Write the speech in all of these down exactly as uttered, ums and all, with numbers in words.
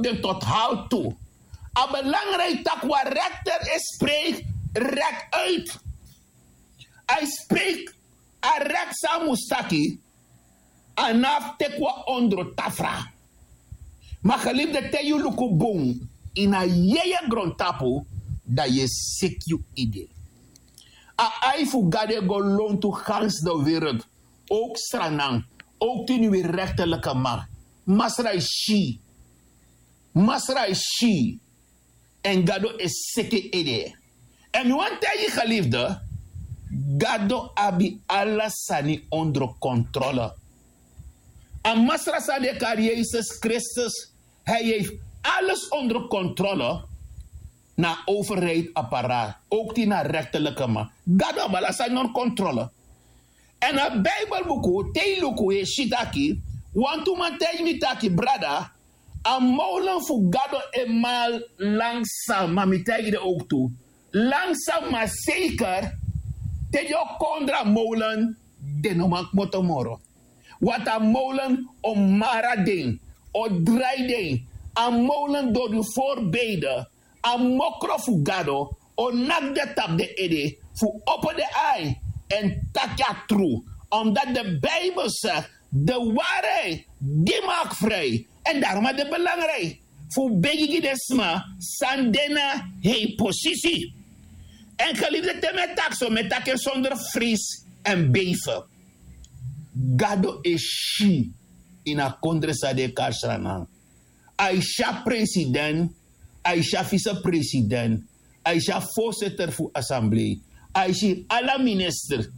en tot hal tu. A belangrijk taki wan rekter e spreek rek uit. A e spreek a rek san a mus taki. A no abi teki wan ondro tafra. Ma gelifde te yu luku bun ini a yeye grontapu, dan yu e seki yu ede. A ai fu gado e go lontu gansi de wereld. Owk sranan, owk tini wi rektelike man. Masra e si. Masra e si. Èn gado e seki en ede. Èn mi wani taigi gelifde, gado abi ala sani ondro kontrole. A masra san den e kari yesus kristus, hei heif ales ondro kontrole. Na a overheid aparaat owk tin na rektelike man, gado abi ala sani ondro kontrole. Èn a bibelbuku te yu luku yu e si taki, wantu man taigi mi taki brada, a mowlen fu gado e mal langsa ma mi taigi den owk tu, langsa ma seker. Te den o kondra mowlen, den no man kmoto moro. Wata mowlen o mara den, o drai den. A mowlen dori yu forbeide, a mokro fu gado o naki den tapu den ede fu opo den ai, èn taki a tru. Omdati de bibel segi, de wari gi maki fri. Èn darom a de belangriki fu begi gi den sma san de na hei posisi. Èn gelifde te mi e taki so mi e taki en sonder fris èn beife. Gado e si ini a kondre san den e kari sranan. A e si a president, a e si a visepresident, a e si a voorzitter fu assemblee, a e si ala minister,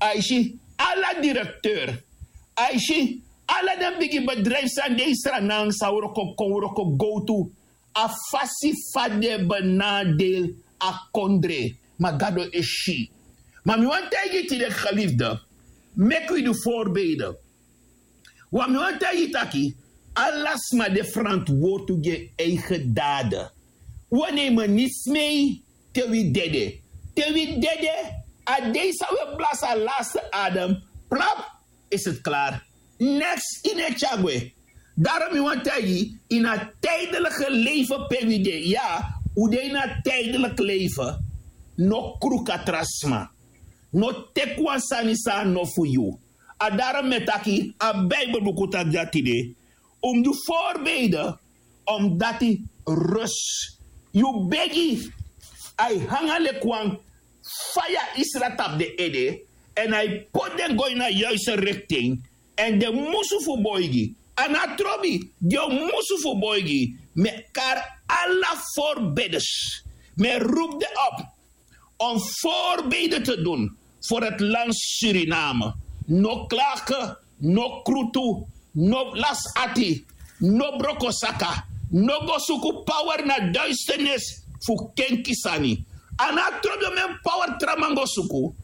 a e si ala direkteur, a e si ala den bigi bedrijfu san de ini sranan san wroko kon wroko gowtu. A fasi fa den e benadel a kondre. Ma gado e si. Ma mi wani taigi yu tide gelifde, meki wi du voorbeide. Wan mi wani taigi yu taki, ala sma de frantwortu gi en eigen dade. Wi o nemen niti smei te wi dede. Te wi dede, a dei san wi e blasi a laste adem, plap, is het klaar. Neks ini e tyari gwe. Darom mi wani taigi yu, ini a tijdelike leife pe wi de, ya, un de ini a tijdelike leife. No kruku a tra sma. No teki wan sani san a no fu yu. A darom mi e taki a bibelbuku taki dati de, un mus du voorbeide. Omdati rus, yu begi, a e hanga leki wan faya isra tapu den ede, èn a e poti den go ini a yuiste riktin. Èn den musu fu boigi, a no a trobi, den o musu fu boigi. Mi e kari ala voorbiders, mi e rupu den op om voorbeide te dun. Voor het land Suriname. No klage, no krutu, no lasi ati, no broko saka, no go suku power na duisternis fu kenki sani. A no a trobi om en power tra man go suku.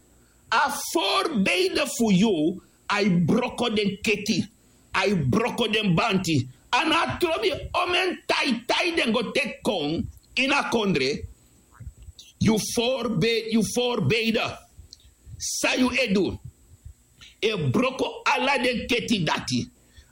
A voorbeide fu yu, a e broko den keti, a e broko den banti. A no a trobi om en taitai den go teki kon ini a kondre. Yu voorbeide, yu voorbeide san yu e du, e broko ala den keti dati,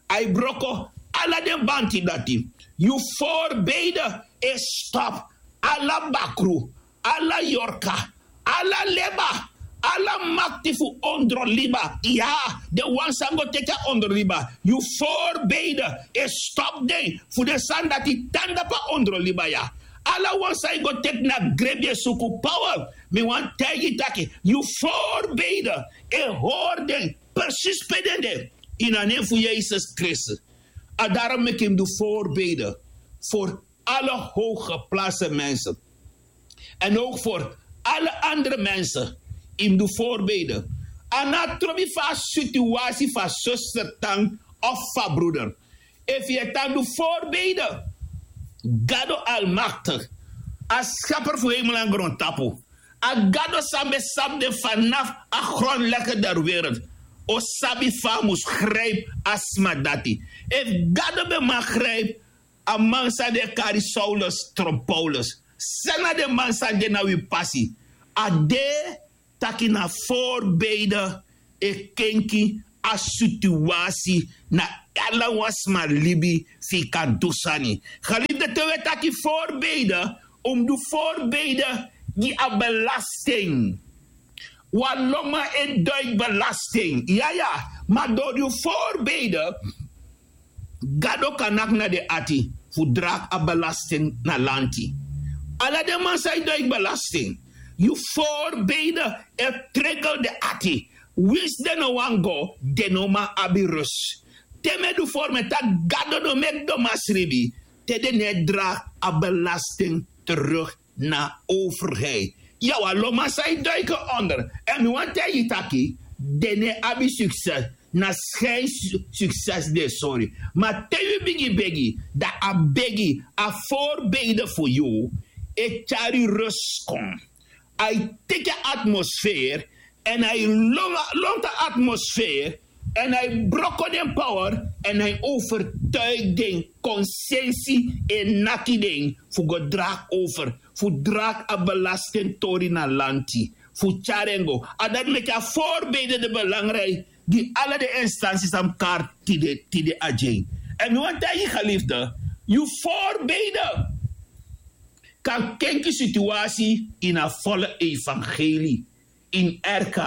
a e broko ala den banti dati. Yu voorbeide e stop ala bakru, ala yorka, ala leba, ala makti fu ondroliba. Ya, den wan san go teki a ondroliba, yu voorbeide e stop den fu den sani dati tan dapu a ondroliba ya. Ala wan san e go teki na grebi e suku power, mi wani taigi yu taki yu voorbeide e hori den presis pe den de. Ini a nen fu yesus kristus. A darom meki yu mus du voorbeide voor alle hooggeplaatste mensen. En ook voor alle andere mensen. Yu mus du voorbeide. A no a trobi fu a situasi fu a suster tan of fu a broeder. Efu yu e tan du voorbeide, gado almaktik, a skaper fu hemel èn grontapu, a gado san ben sabi den fanafu a grondlegger der wereld, o sabi fa a mus gripi a sma dati. Efu gado ben man gripi a man san den e kari saulus tron paulus, san na den man san de na wi pasi? A de taki na voorbeide e kenki a situasi na ala wan sma libi, fu yu kan du sani. Geliefde, te wi e taki voorbeide, un mus du voorbeide gi a belasting. Wan lonman e duik belasting, yaya. Ma dori yu voorbeide, Gado kan naki na den ati fu dragi a belasting na lanti. Ala den man san e duik belasting, yu voorbeide e tregel den ati. Winsi den no wani go, den no man abi rus. Te mi e du voorbeide taki Gado no meki domasribi, te den no e dragi a belasting terug na overheid. Ya, wan lonman san e duik onder. En mi wani taigi yu taki, den no e abi succes. Na schijn su- succes den e sori. Ma te yu bigin begi, dan a begi, a voorbeide fu yu, e tyari rus kon. A e teki a atmosfeer, en a e lon- lontu a atmosfeer, en a e broko den power, en a e overtuigi den, konsensi e naki den fu go dragi over, fu dragi a belastingtori na lanti, fu tyari en go. A dati meki a voorbeide de belangrijk gi ala den instansi san mus kari tide, tide a dyen. En mi wani taigi yu, geliefde, yu voorbeide kan kenki situasi ini a volle evangelie, ini R K,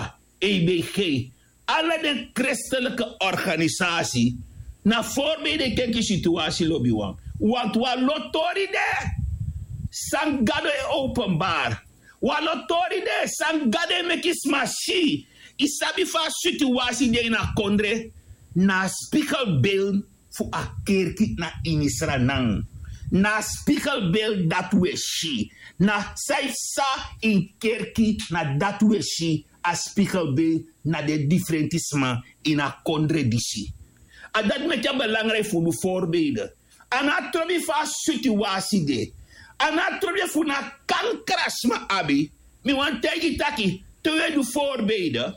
E B G, ala den christelijke organisasi. Na voorbeide e kenki situasi, lobiwan. Want wan lo tori de san Gado e openbaar. Wan lo tori de san Gado e meki sma si. Yu sabi fa a situasi de ini a kondre, na a spiegelbeeld fu a kerki na ini Sranan. Na a spiegelbeeld dati wi e si. Na san yu sa ini kerki, na dati wi e si, a spiegelbeeld na den difrenti sma ini a kondre disi. A dati meki a belangrijk fu du voorbeide. A no abi trobi fa a situasi de. A no abi trobi fu na kankra sma abi. Mi wani taigi yu taki, te wi e du voorbeide,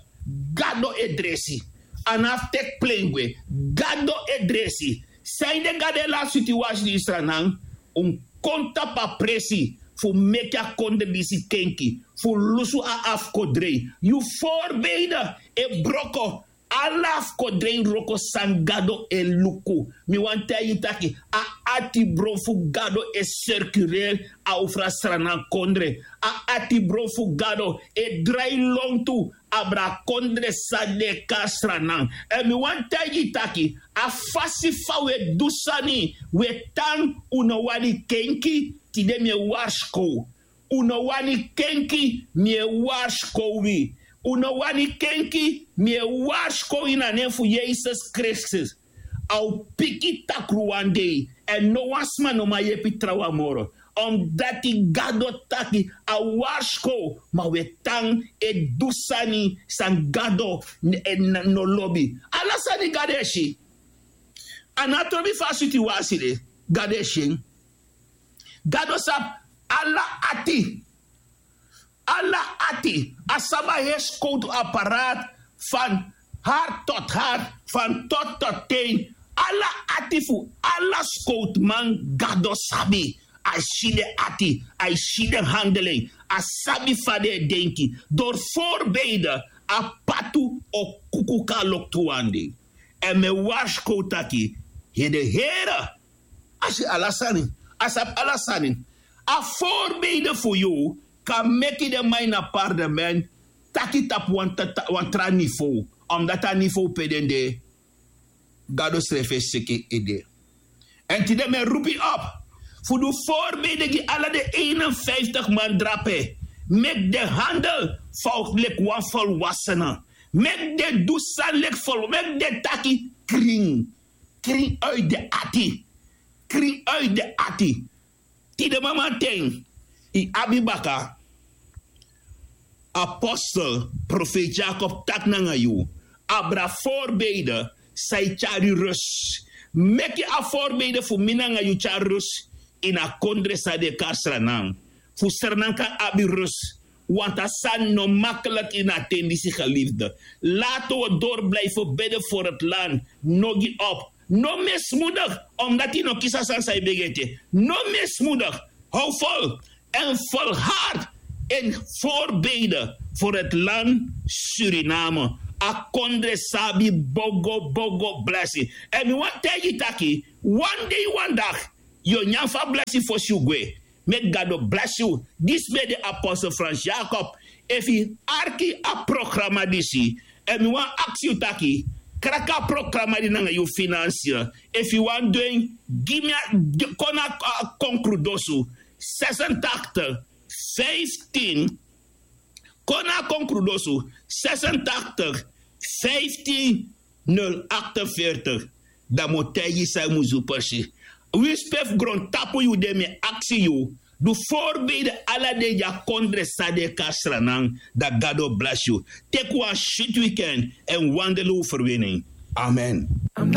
Gado e dresi. A no abi fu teki plen gwe. Gado e dresi. Sanede Gado e lasi situasi di Israel nan, un kon tapu a presi fu meki a kondre disi kenki, fu lusu a afkodrei. Yu voorbeide e broko ala afkodrei wroko san Gado e luku. Mi wani taigi yu taki, a atibron fu Gado e sirkuleri over a Sranan kondre. A atibron fu Gado e drai lontu abra a kondre san den e kari Sranan. Èn mi wani taigi yu taki, a fasi fa wi e du sani, wi e tan, un no wani kenki. Tide mi e warskow. Un no wani kenki, mi e warskow wi. Un no wani kenki, mi e warskow yu na nen fu Yesus Kristus. A o piki takru wan dei, èn no wan sma no man yepi trawan moro. Omdati Gado taki a warskow, ma wi e tan e du sani san Gado n- e n- no lobi. Ala sani Gado e si. A no abi trobi fa a situasi de, Gado e si en. Gado sabi ala ati. Ala ati. A sabi a heri skowtu apparaat van hart tot hart, van tot tot teen. Ala ati fu ala skowtuman Gado sabi. A e si den ati, a e si den handelen, a sabi fa den e denki. Door voorbeide, a patu o kuku kon na loktu wan dei. Èn mi e warskow taki, yu de Here, a si ala sani, a sabi ala sani. A voorbeide fu yu kan meki den man ini a parlement taki tapu wan, ta- ta- wan tra niveau, omdati a niveau pe den de, Gado srefi e seki ede. Èn tide mi e roepi op fu du voorbeide gi ala den eenenvijftig man drape. Meki den handel fa leki wan volwassene. Meki den du sani leki vol, meki den taki krin. Krin uit den ati. Krin uit den ati. Tide mamanten, yu abi baka apostel, profeet Jakob taki nanga yu, abra voorbeide san e tyari rus. Meki a voorbeide fu mi nanga yu tyari rus ini a kondre san den e kari Sranan. Fu Sranan kan abi rus. Want a sani no makkelijk ini a ten disi, geliefde. Laten we door blijven bidden voor het land. No gi op. No mismoedig, omdati yu no kisi a sani san yu begi ete. No mismoedig. Hou vol en volhard in voorbeide voor het land Suriname. A kondre sabi bogo bogo blesi. Èn mi wani taigi taki, wan dei wan daki yu o nyan fu a blesi fosi yu gwe. Meki gado blesi yu. Disi ben de apostel frans jakob. Efu yu arki a programa disi, èn mi wani aksi yu taki, kraki a programa di nanga yu finansi. Efu yu wani du en, gi mi a kon na a konkrudosu, sesentachtig, vijftien. Kon na a konkrudosu, sesentachtig, vijftien, nul achtenveertig. Dan mi o taigi yu san yu mus du presi. Winsi pe fu grontapu yu de, mi e aksi yu, du voorbeide ala dei di a kondre san de kasranan. Dan gado blesi yu. Teki wan switi wiken èn wandel un ferwini. Amen.